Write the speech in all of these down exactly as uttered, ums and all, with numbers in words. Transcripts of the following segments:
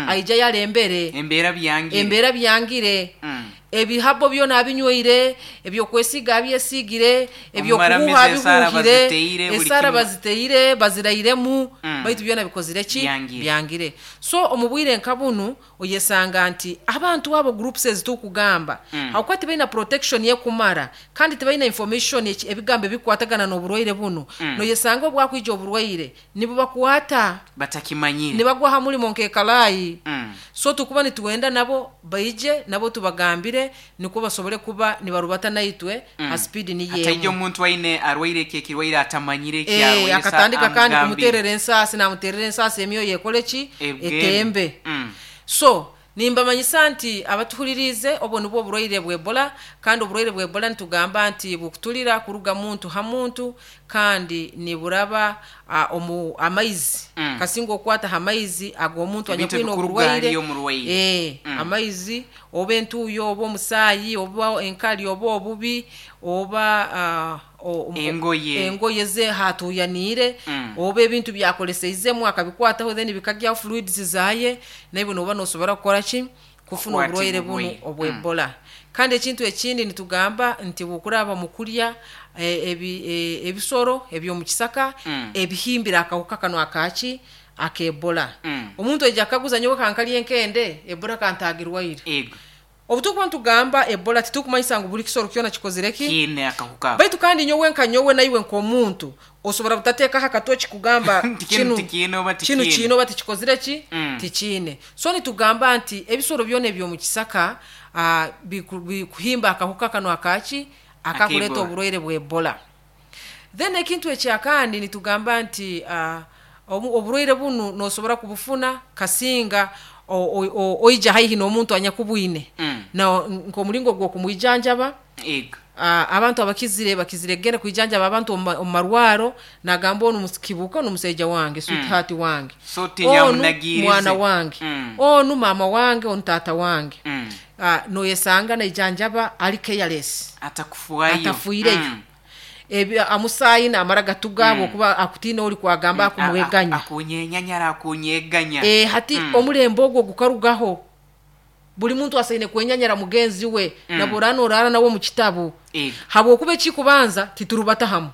Aija yarembere. Embeera byangire. Embeera byangire. Mm. Ebihabo byona abinywire, ebyokwesiga abyesigire, ebyokuhuha Omumaramizi esaara abihuhire, baziteire, buli esaara kimwe. Baziteire, bazirairemu, Mm. baitu byona bikozire ki? Byangire. Byangire. So omu bwire nka bunu oyesanga nti abantu abo, groups ezitukugamba, Mm. hakuba tibaina protection yekumara kandi tibaina information eki- ebigambo ebikwatagana n'oburwaire bunu, Mm. noyesanga obwakwija oburwaire nibubakwata batakimanyire, nibagwa ha mulimo nk'ekalaayi. Mm. So tukuba nituwenda nabo baije, nabo tubagambire nikwo basobole kuba nibarubata naitwe Mm. ha speed Hataija niyemu. omuntu aine arwaire eki ekirwaire atamanyire Eh, ekyarwaire. akatandika kandi amugambire. kumuterera ensaasi, namuterera ensaasi, emyoyo ekole ki? Ebugende. Etembe. Mm. So nimbamanyisa nti abatuhulirize, obwo nibwo oburwaire bwa Ebola. Kandi oburwaire bwa Ebola nitugamba nti bukutulira kuruga muntu ha muntu, kandi niburaba uh, omu amaizi, Mm. kasinga okwata ha maizi ag'omuntu Ebintu anyakwine ebikuruga oburwaire. hariyo omurwaire. Eh, Mm. amaizi oba entuuyo oba omusaayi oba enkali oba obubi oba uh, o- Engoye. Engoye ze hatuuyaniire, Mm. oba ebintu byakoleseizemu akabikwataho, then bikagyaho fluids zaye, naiwe noba nosobora kukora ki? Kufuna Kukwatibwa oburwaire bunu oburwaire. obwa Ebola. Kandi ekintu ekindi nitugamba nti bukuraba mu kurya eh, ebi- eh, ebisoro eby'omu kisaka Mm. ebihimbire akahuka kano akaki ak'Ebola. Mm. Omuntu aija akaguza, "Nyowe kankalya enkende, Ebola kantagirwaire." Ego. Obu tukuba nitugamba Ebola, titukumanyisa ngu buli kisoro kyona kikozire ki? Kiine akahuka ako. Baitu kandi nyowe nka nyowe naiwe nk'omuntu osobora butateekaho akatoki kugamba Nti kinu tikiine oba kinu tikiine. kiine oba tikikozire ki? Mm. Tikiine. So nitugamba nti ebisoro byona eby'omu kisaka ah, biku- bikuhimba akahuka kano akaki akakuleeta Ak'Ebola. oburwaire bwa Ebola. Then ekintu ekyakandi nitugamba nti ah, obu- oburwaire bunu nosobora kubufuna kasinga o- o- o- oija haihi n'omuntu anyakubwine, Mm. na nk'omulingo gw'okumwijanjaba. Ego. Ah, abantu abakizire bakizire kugenda kwijanjaba abantu omu ma- omu marwaro, nagamba, "Onu kibuka, onu musaija wange, sweetheart wange, So onu tinyamunagirize. mwana wange, Mm. onu mama wange, onu taata wange." Mm. Ah, noyesanga naijanjaba ali careless. Atakufuayo. Atafuireyo. Mm. Ebi amusaayi namara gatuga okuba akutiina oli kwagamba akumweganya. Akunyenyanyara, akunyeganya. Eh, hati Mm. omulembe ogwo gukarugaho. Buli muntu asaine kwenyanyara mugenzi we, mm. nabora norara nawe mu kitabu, Ego. habwokuba ekikubanza titurubata hamu.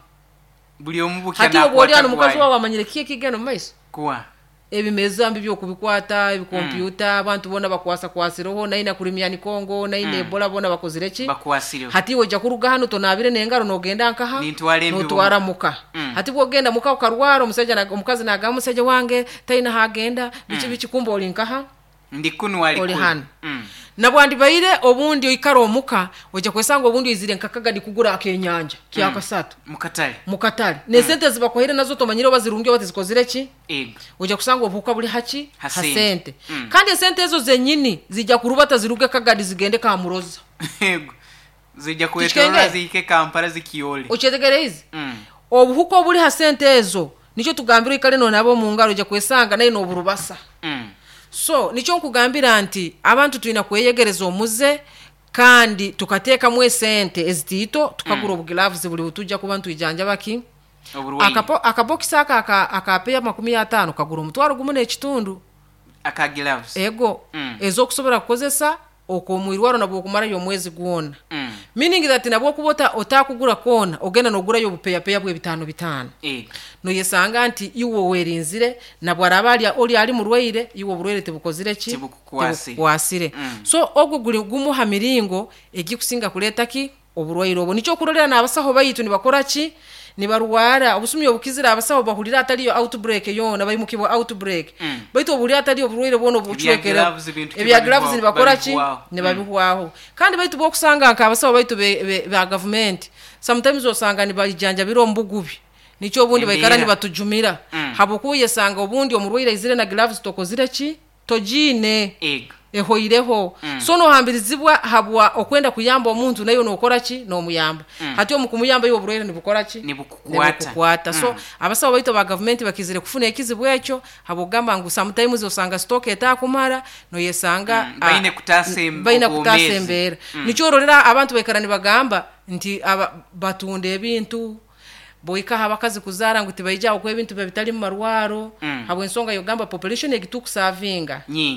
Buli omu bukya Hati oba oli hano, nakwata mukazi gwayo. wawe amanyire ki ekigenda mu maiso? Kuwa Ebimeza mbi byokubikwata, ebikompyuta, abantu bona bakwasakwasireho, naina kurimyani Kongo, naina mm. Ebola, bona bakozire ki? Bakwasireho. Hati iwe ojja kuruga hano tonabire n'engaro, nogenda nkaha? Nintwara embibo. Notwara muka. Mm. Hati bwogenda muka ukarwara, omusajja na- omukazi nagamba, "Omusajja wange taina hagenda," biki biki, kumba oli nkaha? Ndi kunu, ali Oli kunu. hano. Mm. Nabwandibaire obundi oikara omuka, ojja kwesanga obundi oizire nkakagadi kugura akenyanja kyakasatu mukatale. Mukatale, nesente zibakuhaire nazo tomanyire oba zirungi oba tizikozire ki. Ego. Ojja kusanga obuhuka buli haki? Ha Ha sente. sente. Mm. Kandi esente ezo zenyini zijja kurubata ziruge kagadi zigende kamuroza. Ego, zijja kwetorora Tikikenge? zihike Kampala zikiyole. Okyetegereize? Mm. Obuhuka obuli ha sente ezo, nikyo tugambira oikale nonaba omu ngaro, ojja kwesanga naye n'oburubasa. Mm. So nikyo nkugambira nti abantu tulina kweyegereza omuze, kandi tukateekamu esente ezitiito, tukagura mm. obugilavuzi buli butujja kuba ntwijanjaba ki? Oburwaire. Akapo- akabokisi aka aka- akapeya makumi ataano kagura omutwaro gumu n'ekitundu. Aka gloves. Ego. Mm. Ez'okusobola kukozesa okwomwirwaro nabwo okumarayo omwezi gwona, Mm. meaning that nabwo okuba ota- otakugura kwona, ogenda nogurayo obupeyapeya bw'ebitaano bitaano, Ego. noyesanga nti iwe werinzire, nabwo araba ali oli ali murwaire, iwe oburwaire tibukozire ki? Tibukukwasire. Tibukukwasire. Mm. So ogwo guli gumu ha miringo egikusinga kuleeta ki? Oburwaire obwo. Nikyo okurorera n'abasaho baitu nibakora ki? Nibarwara obusumi obukizire. Abasaho bahurira ataliyo outbreak yona, baimukibwa outbreak, Mm. baitu obuhurira ataliyo oburwaire bwona obucwekere, gloves bintu ki? Ebya gloves babihwa- nibakora ki? Babihwaho. Nibabihwaho. Kandi baitu bwokusanga nka abasaho baitu be- be- ba gavumenti, sometimes osanga nibajanjabira omu bugubi, nikyo obundi baikara Embeera. nibatujumira, Mm. habwokuba oyesanga obundi omurwaire aizire na gloves tokozire ki? Togiine. Ego. Ehoireho. Mm. So nohambirizibwa habwa okwenda kuyamba omuntu, naye nokora ki? Nomuyamba. Mm. Hati omu kumuyamba, iwe oburwaire nibukora ki? Nibukukwata. Nibukukwata. So Mm. abasawo baitu ba gavumenti bakizire kufuna ekizibu ekyo, habwokugamba ngu sometimes osanga stock etakumara, noyesanga Mm, baine ah, kutaasa em- baine kutaasa obwomeezi. embeera. Mm. Nikyo ororera abantu baikara nibagamba nti aba, batunda ebintu boikaho abakazi kuzaara ngu tibaija okuba ebintu biba bitali mu marwaro, Mm. habw'ensonga yogamba population egitukusavinga. Nyingi.